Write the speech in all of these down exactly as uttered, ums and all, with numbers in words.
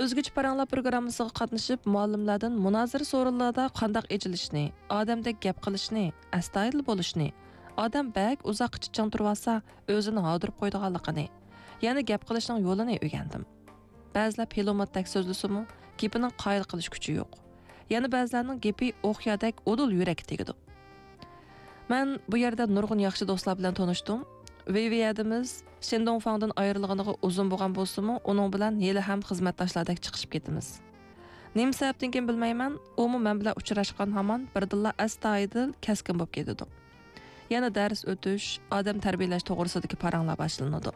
ئۆزگىچە پاراڭلار پروگراممىسىغا قاتنىشىپ، مۇئەللىملەردىن مۇنازىرە سورۇنلىرىدا قانداق ئېچىلىشنى، ئادەمدەك گەپ قىلىشنى، ئەستايىدىل بولۇشنى، ئادەم بەك ئۇزاققىچە چىڭ تۇرۇۋالسا، ئۆزىنى ھاردۇرۇپ قويىدىغانلىقىنى، يەنە گەپ قىلىشنىڭ يولىنى ئۆگەندىم. بەزىلەر پىلىموتتەك سۆزلىسىمۇ، گېپىنىڭ قايىل قىلىش كۈچى يوق. يەنە بەزىلەرنىڭ گېپى ئوقيادەك ئۇدۇل يۈرەككە تېگىدۇ. مەن بۇ يەردە نۇرغۇن ياخشى دوستلار بىلەن تونۇشتۇم. ۋېيۋېي ھەدىمىز شېندوڭفاڭدىن ئايرىلغىنىغا ئۇزۇن بولغان بولسىمۇ، ئۇنىڭ بىلەن ھېلىھەم خىزمەتداشلاردەك چىقىشىپ كېتىمىز. نېمە سەۋەبتىن كېيىن بىلمەيمەن، ئۇمۇ مەن بىلەن ئۇچراشقان ھامان بىردىنلا ئەستايىدىل، كەسكىن بولۇپ كېتىدۇ. يەنە دەرس ئۆتۈش، ئادەم تەربىيەلەش توغرىسىدىكى پاراڭلار باشلىنىدۇ.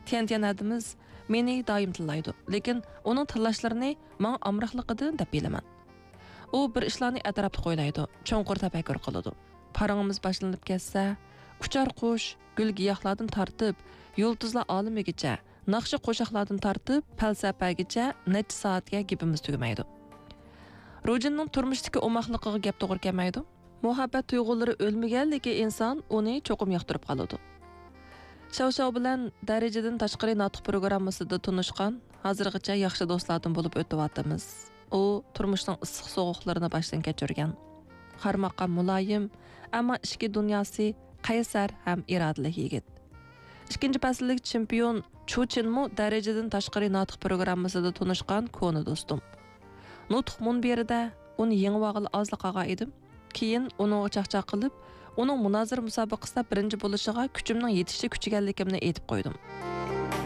تيەنتيەن ھەدىمىز مېنى دائىم تىللايدۇ، لېكىن ئۇنىڭ تىللاشلىرىنى ماڭا ئامراقلىقىدىن دەپ بىلىمەن. ئۇ بىر ئىشلارنى ئەتراپلىق ئويلايدۇ، چوڭقۇر تەپەككۇر قىلىدۇ. پاراڭىمىز باشلىنىپ كەتسە، ئۇچار قۇش، گۈل-گىياھلاردىن تارتىپ، يۇلتۇزلار ئالىمىگىچە، ناخشا-قوشاقلاردىن تارتىپ، پەلسەپەگىچە نەچچە سائەتكە گېپىمىز تۈگىمەيدۇ. روجىننىڭ تۇرمۇشتىكى ئوماقلىقىغا گەپ توغرا كەلمەيدۇ. مۇھەببەت تۇيغۇلىرى ئۆلمىگەنلىكى ئىنسان ئۇنى چوقۇم ياقتۇرۇپ قالىدۇ. شاۋشاۋ بىلەن دەرىجىدىن تاشقىرى ناتىق پروگراممىسىدا تونۇشقان، ھازىرغىچە ياخشى دوستلاردىن بولۇپ ئۆتۈۋاتىمىز. ئۇ تۇرمۇشنىڭ ئىسسىق-سوغۇقلىرىنى باشتىن كەچۈرگەن. قارىماققا مۇلايىم، ئەمما ئىچكى دۇنياسى قەيسەر ھەم ئىرادىلىك يىگىت. ئىككىنچى پەسىللىك چېمپىيون چۇ چىنمۇ دەرىجىدىن تاشقىرى ناتىق پروگراممىسىدا تونۇشقان كونا دوستۇم. نۇتۇق مۇنبىرىدە ئۇنى يېڭىۋالغىلى ئازلا قالغان ئىدىم. كېيىن ئۇنىڭغا چاقچاق قىلىپ، ئۇنىڭ مۇنازىرە مۇسابىقىسىدە بىرىنچى بولۇشىغا كۈچۈمنىڭ يېتىشىچە كۈچىگەنلىكىمنى ئېيتىپ قويدۇم.